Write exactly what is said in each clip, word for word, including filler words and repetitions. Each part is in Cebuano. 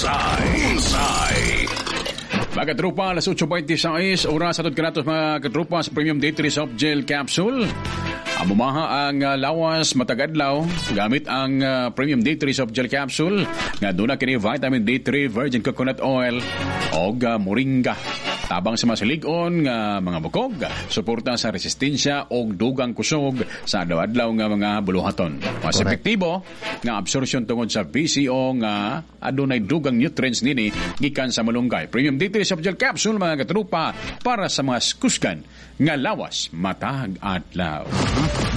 Bullseye. Bullseye. Mga katropa, alas otso bentisiais, oras atod kanatos, mga katropa, sa Premium D three Soft Gel Capsule. Amumaha ang uh, lawas matag adlaw gamit ang uh, Premium D three Soft Gel Capsule nga duna kini vitamin D three, virgin coconut oil og uh, moringa. Tabang sa masilig-on nga mga bukog, suporta sa resistensya og dugang kusog sa adlaw-adlaw nga mga buluhaton. Mas Correct. epektibo nga absorption tungod sa V C O nga adunay dugang nutrients nini gikan sa malunggay. Premium D three Soft Gel Capsule, mga katropa, para sa mga kusgan nga lawas matag adlaw.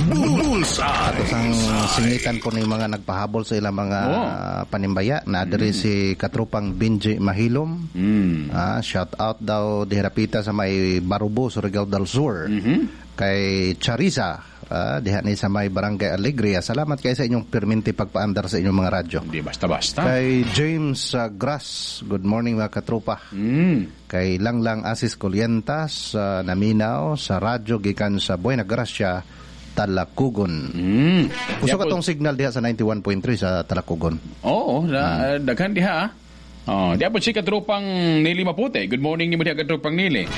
Bullseye. Ato sang singitan po ni mga nagpahabol sa ilang mga Oo. panimbaya na diri si katropang Benji Mahilom. Mm. Ah, shout out daw dihirapita sa may Barubo, Surigao del Sur. Kay Charisa, ah, diha ni sa may Barangay Alegria. Salamat kay sa inyong perminti pagpaandar sa inyong mga radyo. Hindi basta-basta. Kay James ah, Grass, good morning, mga katropa. Mm. Kay Langlang Asis Colientas sa Naminaw sa radyo gikan sa Buena Gracia, Talakugon. Mm. Puso ka tong signal diha sa ninety-one point three sa Talakugon. Oo, na, daghan diha, ah. Oh, diha po si katropang Nili Mapute. Good morning nimo diha, katropang Nili.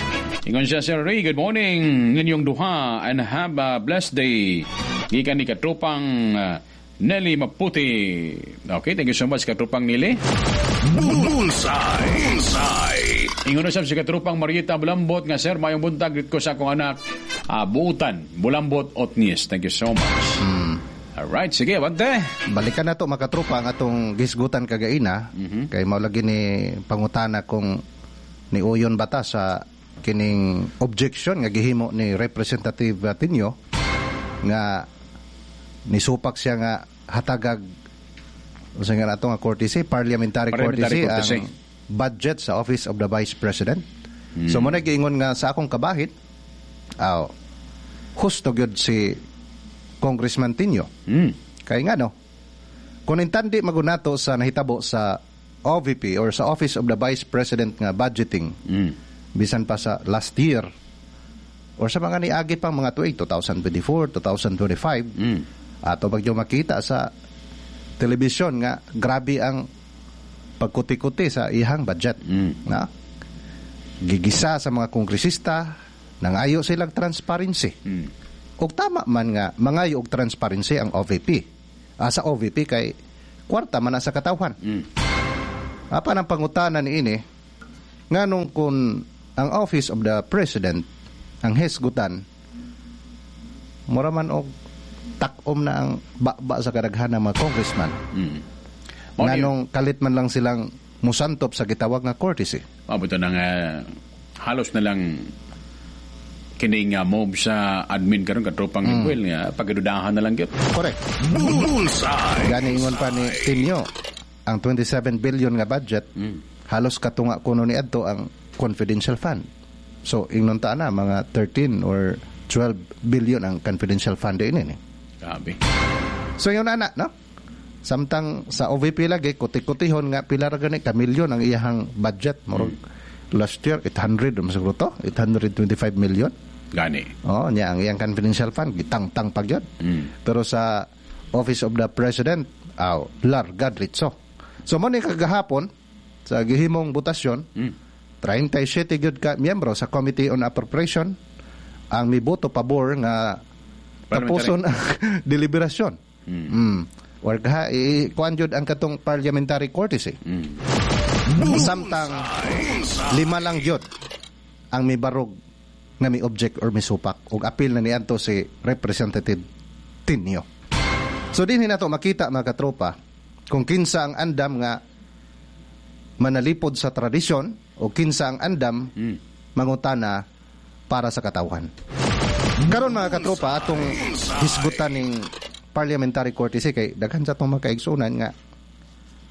Ingon siya, "Sir Ray, good morning ninyong duha and have a blessed day." Gikan ni katropang uh, Nelly Maputi. Okay, thank you so much, katropang Nili. Bullseye. Bullseye. Ingon na siya si katropang Marieta Bulambot nga, "Sir, mayong buntag, greet ko sa akong anak, uh, Buutan, Bulambot Otnies." Thank you so much. Alright, sige, abante. Balikan na to, mga katropa, ang atong gisgutan kagaina kay mao lagi ni pangutana kung ni uyon bata sa kining objection nga gihimo ni Representative Tinio nga nisupak siya nga hatagag unsa nga nato nga courtesy, parliamentary, Parliamentary courtesy, courtesy. ang budget sa Office of the Vice President. So mo na giingon nga sa akong kabahin, aw, husto gyud si Congressman Tinio. Mm. Kay nga no, kung intandi magunato sa nahitabo sa O V P or sa Office of the Vice President nga budgeting Mm. bisan pa sa last year or sa mga niagi pang mga tuig, twenty twenty-four, twenty twenty-five, Mm. ato bagyo makita sa telebisyon nga grabe ang pagkuti-kuti sa ihang budget. Mm. Na? Gigisa sa mga kongresista, nangayo silang transparency. Mm. Og tama man nga mangayo og transparency ang O V P. Ah, sa O V P kay kwarta man na sa katawhan. Mm. Apan ang pangutana ni ini, nganong kung ang Office of the President ang hisgutan, mura man og takom na ang baba sa kadaghan ng mga congressman? Mm. Mao ni- Nganong kalit man lang silang musantop sa gitawag nga courtesy? Mabot na nga halos na lang kining uh, move sa admin karon, katropang mm. Well, nga pagdudahan na lang gyud. Correct. Bullseye. Gani ingon pa ni Tinio, ang twenty-seven billion nga budget, halos katunga kuno ni adto ang confidential fund. So ingnon ta na mga thirteen or twelve billion ang confidential fund din ini. Grabe. So yun ana, no? Samtang sa O V P lagi kuti-kutihon nga pila ra gani ka milyon ang iyahang budget, murag last year eight hundred man siguro to, eight hundred twenty-five million. Gani. Oh, niya ang iyang confidential fund gitangtang pag yun. Mm. Pero sa Office of the President, aw, larga diretso. So mo ni kagahapon sa gihimong botasyon, Mm. thirty-seven gyud ka miyembro sa Committee on Appropriation ang miboto pabor nga tapuson ang deliberasyon. Mm. Or kaha, i kuan jud ang katong parliamentary courtesy. Mm. Samtang lima lang gyud ang mibarog nga mi object or misupak og appeal na niadto si Representative Tinio. So dinhi nato makita, mga katropa, kung kinsa ang andam nga manalipod sa tradisyon o kinsa ang andam Mm. mangutana para sa katawhan. Karon, mga katropa, atong hisgutan ning parliamentary courtesy kay daghan sa atong mga kaigsunan nga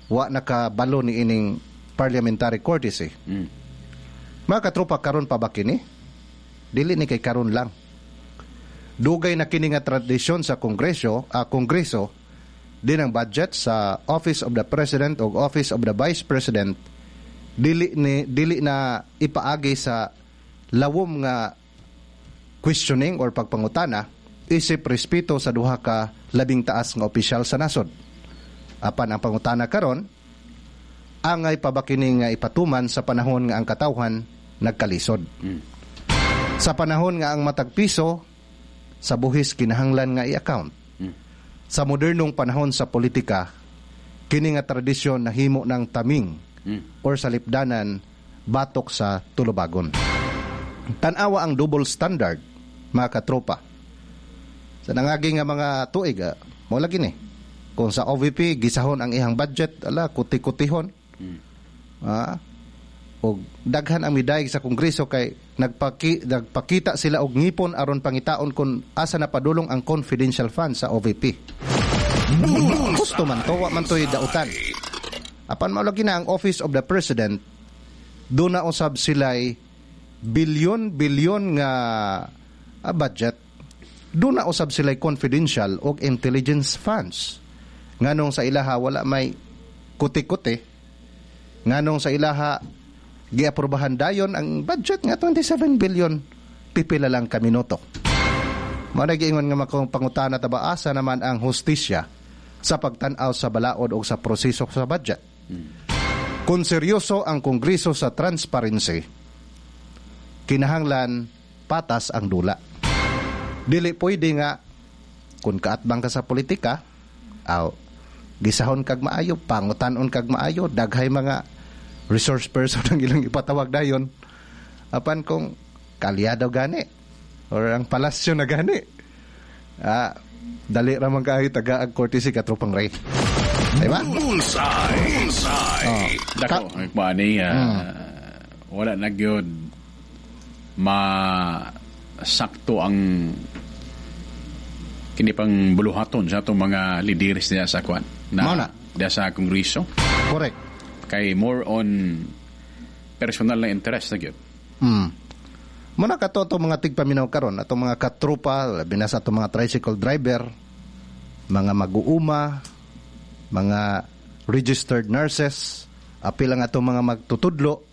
wa nakabalo ni ining parliamentary courtesy. Mm. Mga katropa, karon pa ba kini? Dili ni kay karon lang. Dugay na kini nga tradisyon sa Kongreso, ah, Kongreso din ang budget sa Office of the President o Office of the Vice President dili ni dili na ipaagi sa lawom nga questioning or pagpangutana isip respeto sa duha ka labing taas nga opisyal sa nasod. Apan ang pangutana karon, Angay pa ba kini nga ipatuman sa panahon nga ang katawhan nagkalisod? Sa panahon nga ang matag piso sa buhis kinahanglan nga i-account. Sa modernong panahon sa politika, kini nga tradisyon nahimo ng taming or sa lipdanan batok sa tulubagon. Tan-awa ang double standard, mga katropa. Sa nangagi nga mga tuig, ah, mo lagi ni. Kung sa O V P gisahon ang ihang budget, ala, kuti-kutihon. Ah, og daghan ang midayeg sa Kongreso kay nagpaki, nagpakita sila og ngipon aron pangitaon kung asa na padulong ang confidential fund sa O V P. Gusto man to, wa man to'y dautan. Apan mao lagi na ang Office of the President, doon na usab sila'y bilyon-bilyon nga ah, budget. Doon na usab sila'y confidential og intelligence funds. Nganong sa ilaha wala may kuti-kuti? Nganong sa ilaha giaprobahan dayon ang budget nga twenty-seven billion pipila lang ka minuto? Mao na giingon nga makong pangutana ta ba, asa naman ang hustisya sa pagtan-aw sa balaod o sa proseso sa budget? Kung seryoso ang Kongreso sa transparency, kinahanglan patas ang dula. Dili pwede nga kung kaatbang ka sa politika, aw gisahon kag maayo, pangutan-on kag maayo, daghay mga resource person ang ilang ipatawag dayon. Apan kung kaalyado gani or ang palasyo na gani, ah, dali ra man kaayo tagaag courtesy, katropang Ray. Di ba? Bullseye. Bullseye. Oh. Dako, kuan ni ah, wala na gyud ma sakto ang kini pang buluhaton sa atong mga lideres diya sa kwan Mao na na. Diya sa Kongreso Correct. kay more on personal na interest na gyud. Mm. Muna kato atong mga tigpaminaw karon, atong mga katropa, labi na sa atong mga tricycle driver, mga mag-uuma, mga registered nurses, apil ang atong mga magtutudlo,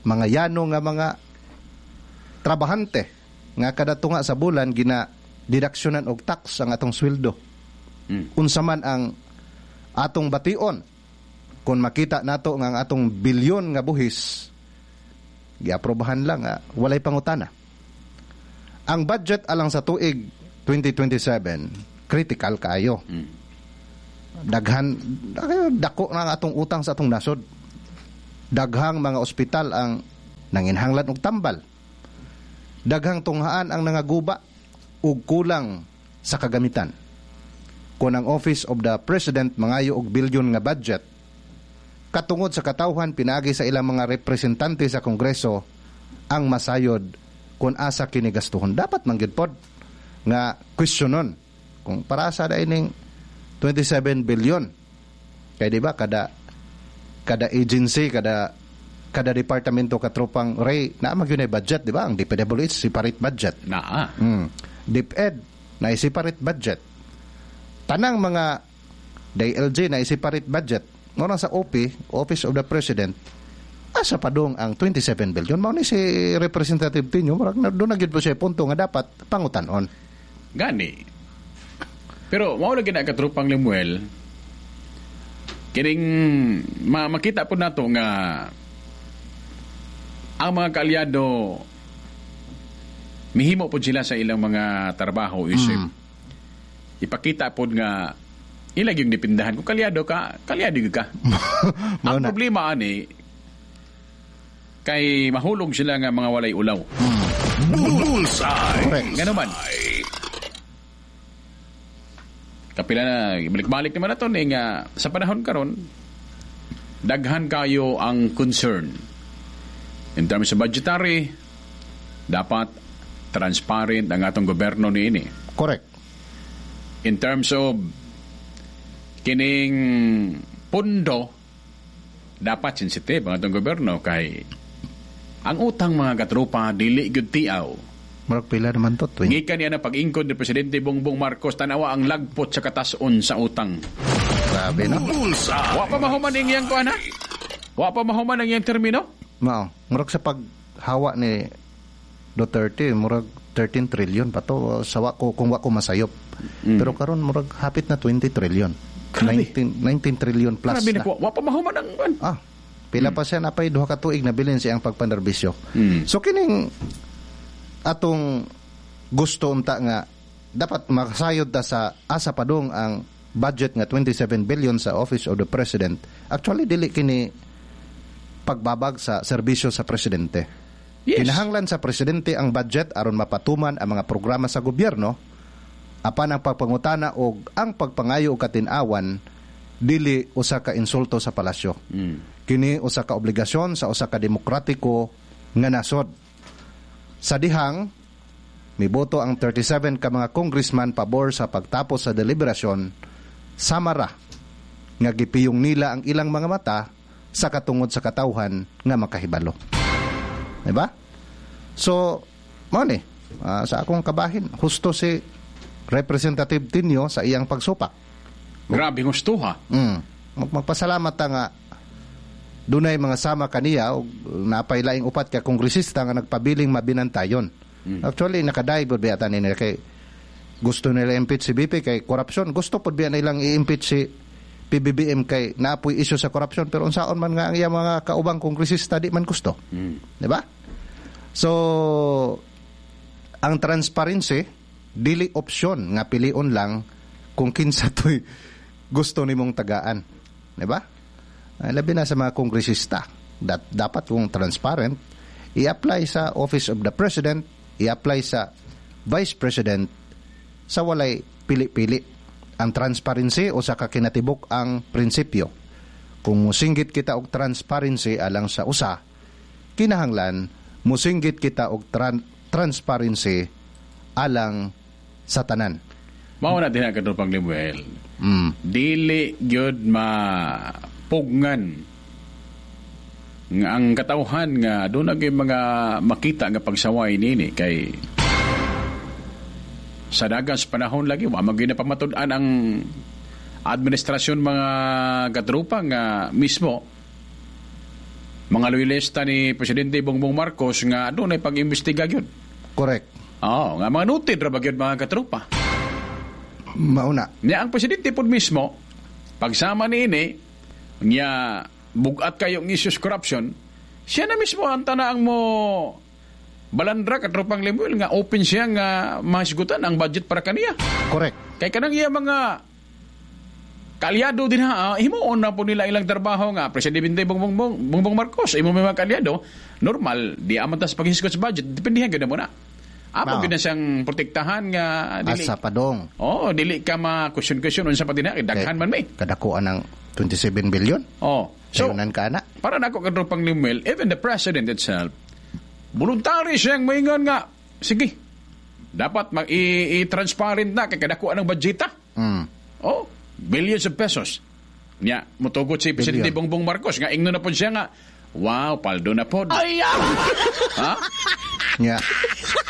mga yano nga mga trabahante nga kada tunga sa bulan gina deductionan og tax ang atong sweldo. Mm. Unsa man ang atong bation kung makita nato nga ang atong bilyon nga buhis giaprobahan lang, ah, walay pangutana? Ang budget alang sa tuig twenty twenty-seven, critical kaayo. Daghan, dako na ang atong utang sa atong nasod. Daghang mga ospital ang nanginhanglan og tambal. Daghang tunghaan ang nangaguba ug kulang sa kagamitan. Kung ang Office of the President mangayo og bilyon nga budget, katungod sa katawhan pinaagi sa ilang mga representante sa Kongreso ang masayod kung asa kini gastuhon. Dapat man gyud pod nga questionon kung para sa ining twenty-seven billion. Kay di ba kada kada agency, kada kada departamento, katropang Ray, naa man gyud budget, di ba? Ang D P W H separate budget. Naa. Mm. DepEd na separate budget. Tanang mga D I L G na separate budget. Ngano sa O P, Office of the President, asa padung ang twenty-seven billion? Mao ni si Representative Tinio, murag na doon na gyud po siya punto nga dapat pangutanon. Gani. Pero mao lagi na, katropang Lemuel, kining ma makita po nato nga ang mga kaalyado mihimo po sila sa ilang mga trabaho isip. Mm. Ipakita po nga ila yung dipindahan. Kung kaalyado ka, kaalyado gyud ka. Mao Ang na. problema ani kay mahulog sila nga mga walay ulaw. Bullseye. Correct. Ngano man. Kapila na, balik-balik naman na to ni nga sa panahon karon daghan kayo ang concern. In terms of budgetary, dapat transparent ang atong gobyerno niini. Correct. In terms of kining pundo, dapat sensitive ang atong gobyerno kay ang utang, mga katropa, dili gyud tiaw. Murag pila naman to? twenty. Gikan niya na pag-ingkod ni Presidente Bongbong Marcos, tanawa ang lagpot sa katason sa utang. Grabe, no? Bullseye. Wa pa mahuman ang iyang kuan ha? Wa pa mahuman ang iyang termino? Mao, murag sa paghawa ni Duterte, murag thirteen trillion pa to sa wa ko kung wa ko masayop. Mm. Pero karon murag hapit na twenty trillion. Grabe. nineteen nineteen trillion plus Grabe na. na po. Wa pa mahuman ang kuan. Ah, pila pa siya napay duha ka tuig na bilin siyang pagpanerbisyo. Mm. So kining atong gusto unta nga dapat makasayod ta sa asa padung ang budget nga twenty-seven billion sa Office of the President. Actually, dili kini pagbabag sa serbisyo sa presidente. Yes. Kinahanglan sa presidente ang budget aron mapatuman ang mga programa sa gobyerno, apan ang pagpangutana og ang pagpangayo og katin-awan dili usa ka insulto sa palasyo. Mm. Kini usa ka obligasyon sa usa ka demokratiko nga nasod. Sa dihang miboto ang thirty-seven ka mga congressman pabor sa pagtapos sa deliberasyon, samara nga gipiyong nila ang ilang mga mata sa katungod sa katawhan nga makahibalo. Diba? So, mao ni, ah, sa akong kabahin, husto si Representative Tinio sa iyang pagsupak. Grabe gusto ha. Mm. Mag- Magpasalamat ta nga dunay mga sama kaniya og napay laing upat ka kongresista nga nagpabiling mabinantayon. Actually, nakaday pud biya tani nila kay gusto nila impeach si V P kay corruption. Gusto pud biya nilang i-impeach si P B B M kay naapoy issue sa corruption, pero unsaon man nga ang iyang mga kaubang kongresista di man gusto. Di ba? So ang transparency dili opsyon nga pilion lang kung kinsa to'y gusto nimong tagaan. Di ba? Ay, labi na sa mga kongresista. Dat, dapat kung transparent, i-apply sa Office of the President, i-apply sa Vice President sa walay pili-pili. Ang transparency o sa kakinatibuk ang prinsipyo. Kung musinggit kita og transparency alang sa usa, kinahanglan musinggit kita og tran- transparency alang sa tanan. Mao na din ang katropang Lemuel. Mm. Dili gyud mapugngan nga ang katawhan nga doon na gyud mga makita nga pagsaway nini kay sa dagan sa panahon lagi wa man gyud napamatud-an ang administrasyon, mga katropa, nga mismo mga loyalista ni Presidente Bongbong Marcos nga doon ay pag-imbestiga gyud. Correct. Oo, nga mga noted ra ba gyud, mga katropa. Mauna. Niya ang presidente pod mismo, pagsama niini, niya bugat kayo ang issues corruption, siya na mismo ang tanaang mo balandra, katropang Lemuel, nga open siya nga mahisgutan ang budget para kaniya. Correct. Kay kanang iya mga kaalyado din ha, ah, himuon na po nila ilang trabaho nga Presidente Bongbong, Bongbong, Bongbong Marcos, imo may mga kaalyado, normal, di aman tas paghisgot sa budget, dependihan gyud na mo na. Amo Mao. gyud na siyang protektahan nga dili. Asa padong. Oh, dili ka ma question-question unsa pa din kay daghan man may. Kadakuan ng twenty-seven billion. Oh. So, Sayunan ka na. Para nako, katropang Lemuel, even the president itself, voluntary siyang maingon nga, sige, dapat mag i-transparent na kay kadakuan ng budgeta. Mm. Oh, billions of pesos. Nya, mutugot si Presidente Billion. Bongbong Marcos nga ingno na pod siya nga, wow, paldo na pod. Ay, ha? Nya,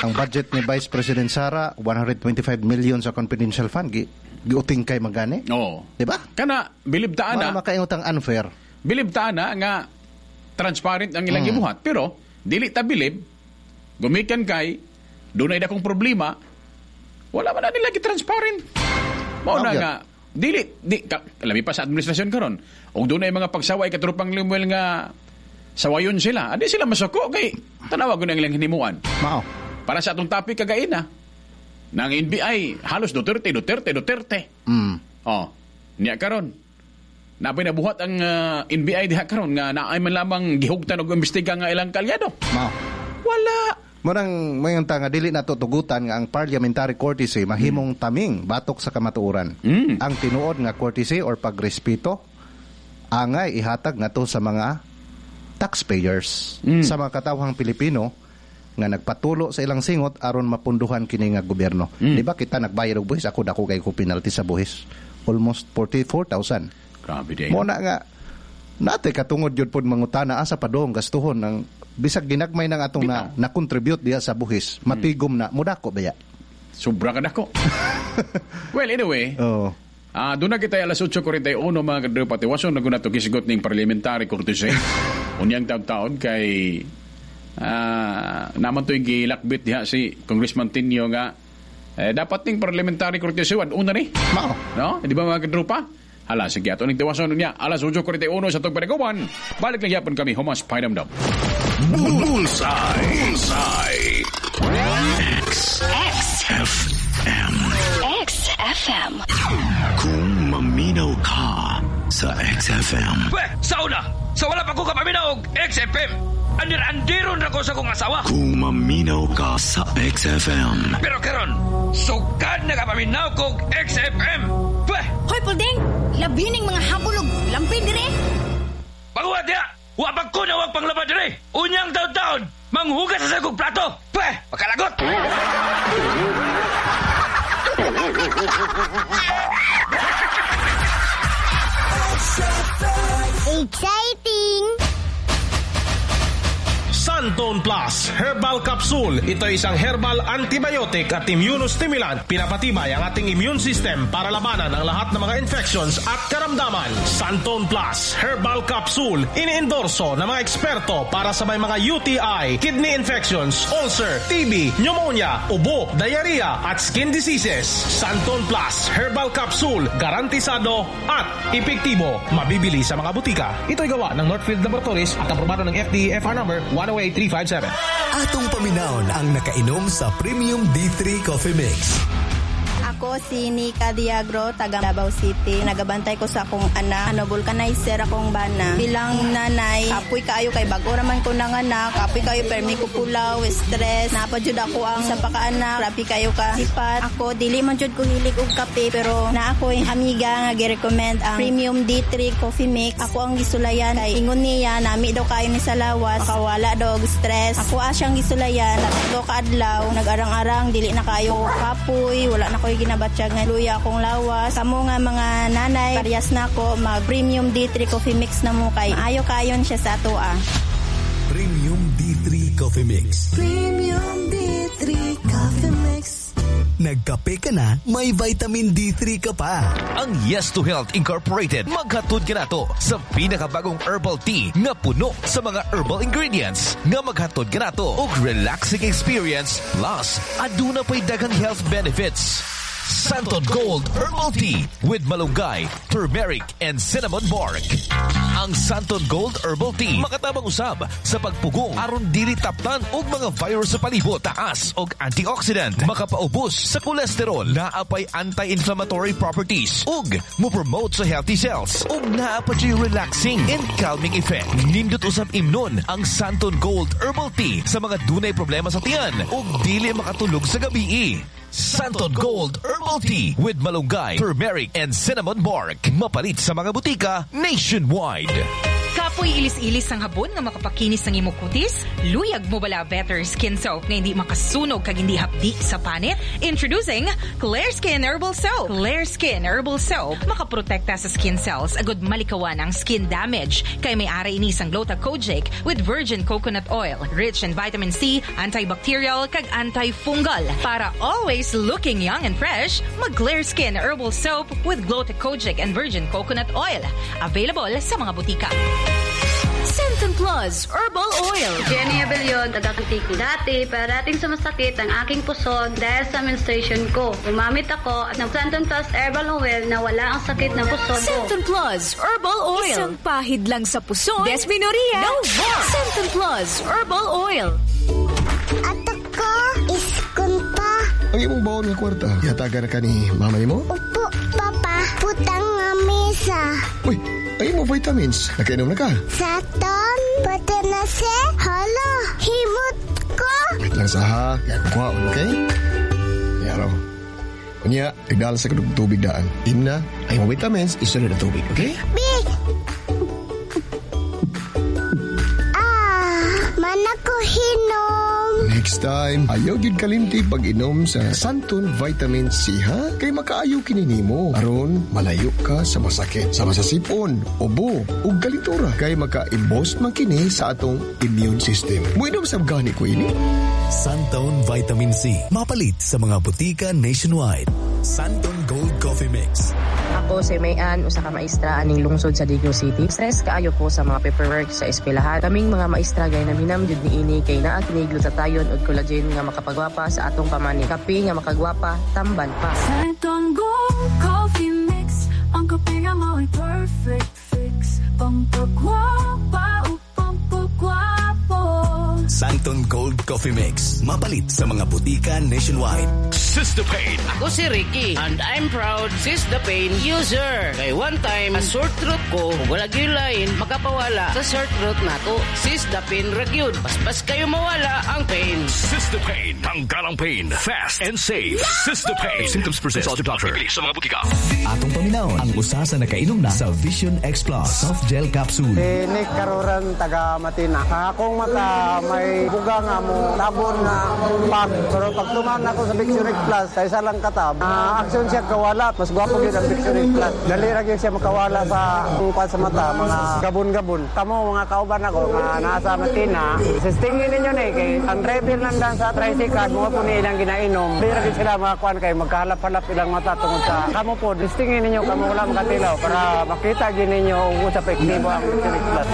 ang budget ni Vice President Sara, one hundred twenty-five million sa confidential fund. Gi, giuting kay magani. Oo. Di ba? Kana bilib ta Mara ana, makaingotang unfair. Bilib ta ana nga transparent ang ilang gibuhat, pero dili ta bilib gumikan kay dunay dakong problema, wala man na nila gi-transparent. Mao na Okay. nga dili di ka, labi pa sa administrasyon karon ug dunay mga pagsaway, katropang Lemuel, nga sawayon sila, adi sila masuko kay tanawa gud ang ilang hinimuan. Mao. Para sa atong topic kagaina nang N B I, halos Duterte, Duterte, Duterte. Mm. Oh, niya karon. Napay nabuhat ang ah, N B I diha karon nga naay man lamang gihugtan og imbestiga nga ilang kalyado. Mao. Wala. Munang mayon ta nga dili nato tugutan nga ang parliamentary courtesy mahimong taming batok sa kamatuoran. Mm. Ang tinuod nga courtesy or pagrespeto angay ihatag ngadto sa mga taxpayers, Mm. sa mga katawhang Pilipino nga nagpatulo sa ilang singot aron mapunduhan kini nga gobyerno. Mm. Di ba kita nagbayad og buhis? Ako, dako kay ko penalty sa buhis. Almost forty-four thousand. Grabe day. Mo na nga nate katungod yun pod mangutana asa padong gastuhon ng bisag ginagmay ng atong na, na contribute diha sa buhis, matigom na mudako baya. Sobra ka dako. Well, anyway, Oh. ah, doon na kita alas otso kwarenta y uno, mga kadro patiwason na guna to gisgot ning parliamentary courtesy. Unyang taon-taon kay ah, naman to yung gilakbit diha si Congressman Tinio nga eh, dapat ning parliamentary courtesy una ni. Mao. No? Di ba, mga kadrupa? Hala, sige, ato ning tiwason niya, alas otso kuwarenta y uno sa atong paniguban. Balik lang yapon kami, humas pahinumdom. Bullseye. Bullseye. X. X. F. M. X F M. Kung maminaw ka sa X F M. Pwe, sa una, sa wala pa ko kapaminaw og X F M. Andir-andiron ra ko sa akong asawa. Kung maminaw ka sa X F M. Pero karon, sukad na kapaminaw ko og X F M. Pwe, Hoy, Pulding! Labining mga habulog! Lampin dire! Paguwa diya! Wa pa ko na wag panglaba dire. Unyang taon-taon, manghugas sa kog plato. Pwe, makalagot. Exciting! Santon Plus Herbal Capsule. Ito ay isang herbal antibiotic at immunostimulant. Pinapatibay ang ating immune system para labanan ang lahat ng mga infections at karamdaman. Santon Plus Herbal Capsule. Iniendorso ng mga eksperto para sa may mga U T I, kidney infections, ulcer, T B, pneumonia, ubo, diarrhea at skin diseases. Santon Plus Herbal Capsule. Garantisado at epektibo. Mabibili sa mga butika. Ito'y gawa ng Northfield Laboratories at aprobado ng F D A F R number one zero eight three five seven. Atong paminawon ang nakainom sa Premium D three Coffee Mix. Ako si Nika Diagro, taga Davao City. Nagabantay ko sa akong anak. Ano, vulcanizer akong bana. Bilang nanay, kapoy kaayo kay bago raman ko nanganak. Kapoy kaayo, permi ko pulaw, stress. Naa pa jud ako ang sa pakaanak. Grabe kayo ka sipat. Ako, dili man jud ko hilig og kape, pero naa ko'y amiga nga gi-recommend ang Premium D three Coffee Mix. Ako ang gisulayan kay ingon niya, nami daw kayo ni sa lawas, makawala daw og stress. Ako siyang gisulayan, tatlo ka adlaw, nag-arang-arang, dili na kayo kapoy, wala na ko'y ginabatsyag nga luya akong lawas. Kamo nga mga nanay, parehas na ako, mag Premium D three Coffee Mix na mo kay ayo kayon siya sa ato ah. Premium D three Coffee Mix. Premium D three Coffee Mix. Nagkape ka na, may vitamin D three ka pa. Ang Yes to Health Incorporated maghatod kanato sa pinakabagong herbal tea nga puno sa mga herbal ingredients nga maghatod kanato og relaxing experience, plus aduna pay daghang health benefits. Santon Gold Herbal Tea with malunggay, turmeric, and cinnamon bark. Ang Santon Gold Herbal Tea makatabang usab sa pagpugong aron dili taptan og mga virus sa palibot, taas og antioxidant, makapaubos sa kolesterol, naa pay anti-inflammatory properties ug mo-promote sa healthy cells ug naa pa siya'y relaxing and calming effect. Nindot usab imnon ang Santon Gold Herbal Tea sa mga dunay problema sa tiyan ug dili makatulog sa gabi. Santon Gold Herbal Tea with malunggay, turmeric, and cinnamon bark. Mapalit sa mga butika nationwide. Kapoy ilis-ilis ang habon nga makapakinis ng imong kutis? Luyag mo bala better skin soap nga hindi makasunog kag hindi hapdi sa panit? Introducing Clear Skin Herbal Soap. Clear Skin Herbal Soap makaprotekta sa skin cells agud malikawan ang skin damage kay may ari ini sang Glota Kojic with virgin coconut oil, rich in vitamin C, antibacterial kag antifungal. Para always looking young and fresh, mag Clear Skin Herbal Soap with Glota Kojic and virgin coconut oil. Available sa mga butika. Santon Plus Herbal Oil. Jenny Abelion, taga Antique. Dati, parating sumasakit ang aking puson dahil sa menstruation ko. Gumamit ako ng Santon Plus Herbal Oil na wala ang sakit ng puson ko. Santon Plus Herbal Oil. Isang pahid lang sa puson. Dysmenorrhea. No more. Santon Plus Herbal Oil. Ato ko, iskon pa. Ang imong baon nga kwarta, yatagan na ka ni mama mo? Upo, papa. Butang nga mesa. Uy, ang imong vitamins, nakainom na ka? Saton, pati na si, hala, himot ko. Wait lang sa ha, kaya kuhaon, okay? Yaro. Unya, igdala sa kudog tubig daan. Imna, ang imong vitamins, isunod ang tubig, okay? Bi! Ah, mana ko hinom. Next time, ayaw gyud kalimti pag-inom sa Santon Vitamin C, ha? Kay makaayo kini nimo. Aron, malayo ka sa masakit, sama sa sipon, ubo, ug kalintura. Kay maka-i-boost man kini sa atong immune system. Muinom sa gani ko ini. Santon Vitamin C. Mapalit sa mga butika nationwide. Santon Gold Coffee Mix. Ako si Mayan, usa ka maestra aning lungsod sa Digos City. Stress kaayo ko sa mga paperwork sa eskwelahan. Kaming mga maestra gay naminam jud niini kay naa kini glutathione ug collagen nga makapagwapa sa atong pamani. Kape nga makagwapa, tamban pa. Santon Gold Coffee Mix. Ang kape nga Mao'y perfect fix Pampagwapa o pampagwapo Santon Gold Coffee Mix. Mapalit sa mga botika nationwide. Sister Pain. Ako si Ricky and I'm proud Sis the Pain user. Kay one time, a sore throat ko, ug wala gyud lain, makapawala sa sore throat nato. Sis the Pain ra gyud. Paspas kayo mawala ang pain. Sister Pain. Tanggalang pain. Fast and safe. Sister Pain. If symptoms persist, consult your doctor. Bili sa mga botika. Atong paminawon ang usa sa nakainom na sa Vision X Plus Soft Gel Capsule. Si Nick Karuran, taga Matina. Akong mata may buga nga mo tabon nga pag. Pero pag tuman ako sa Vision X Plus, sa isa lang katab, uh, aksyon siya kawala. Mas gwapo gyud ang Vision X Plus. Dali ra gyud siya makawala sa kuan sa mata, mga gabon-gabon. Kamo mga kauban ako nga naa sa Matina, sistingin ninyo ni kay ang driver lang sa tricycle mo po ni ilang ginainom. Dili ra gyud sila mga kuan kay magkahalap-halap ilang mata tungod sa kamo po. Sistingin ninyo kamo wala makatilaw para makita gyud ninyo ug sa epektibo ang Vision X Plus.